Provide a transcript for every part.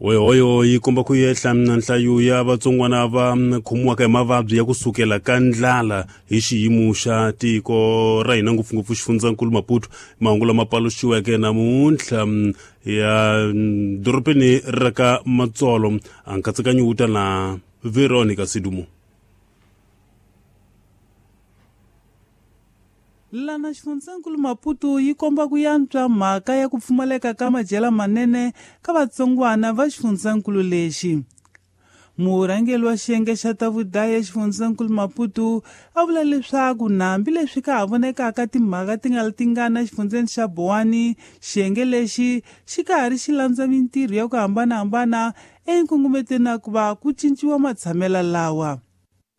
Hoyohoyo yi komba ku yehla na nhlayo ya vatsongwana va khomiwaka hi mavabyi ya kusukela ka ndlala hi xiyimo xa tiko ra hina, ngopfungopfu xifundzankulu Maputo. Mahungu lama paluxiweke namuntlha ya dorobeni ra ka Matsolo. A nkatsakanyo wu ta na Veronica Sidumo. Lana xifundzankulu Maputo yi komba ku yantswa mhaka ya ku pfumaleka ka madyela manene ka vatsongwana va xifundzankulu lexi. Murhangeri wa xiyenge xa ta vudaya xifundzankulu Maputo a vula leswaku hambileswi ka ha vonekaka timhaka ti nga tingana exifundzeni xa Bowani, xiyenge lexi xi ka ha ri xi landza mintirho ya ku hambanahambana enkungumetweni ya ku va ku cinciwa matshamelo lawa.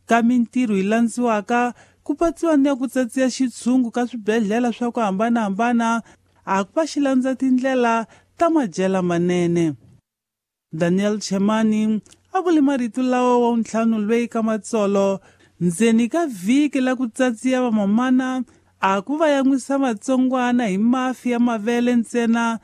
Ka mintirho yi landziwaka ku patsiwa ni ya ku tsatsiya xitshungu ka swibedhlele swa ku hambanahambana a ku va xi landza tindlela ta madyela manene. Daniel Chemani a vule marito lawa wa ntlhanu lweyi ka Matsolo ndzeni ka vhiki la ku tsatsiya vamamana a ku va yan'wisa vatsongwana hi mafi ya mavele ntsena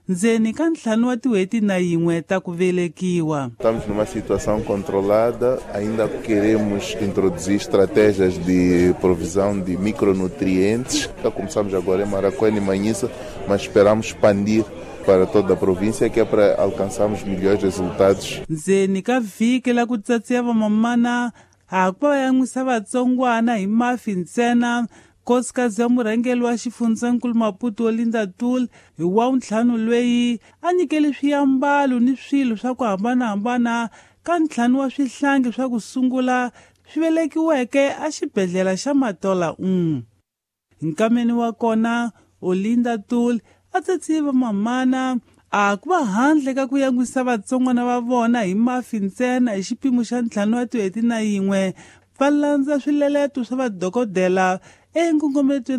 ndzeni ka 5 wa tin'hweti na yin'we ta ku velekiwa. Estamos numa situação controlada, ainda queremos introduzir estratégias de provisão de micronutrientes. Já começamos agora em Marracuene e Manhiça, mas esperamos expandir para toda a província, que é para alcançarmos melhores resultados. Ndzeni ka vhiki la ku tsatsiya vamamana a ku va yan'wisa vatsongwana hi mafi ntsena. Nkosikazi ya murhangeri wa xifundzankulu Maputo Olinda Tul hi wa ntlhanu lweyi a nyikele swiambalo ni swilo swa ku hambanahambana ka 5 wa swihlangi swa ku sungula swi velekiweke exibedhlele xa Matola 1. Nkameni wa kona Olinda Tul a tsatsiye vamamana a ku va handle ka ku yan'wisa vatsongwana va vona hi mafi ntsena hi xipimo xa 5 wa tin'hweti na yin'we, va landza swileleto swa vadokodela enkongometweni.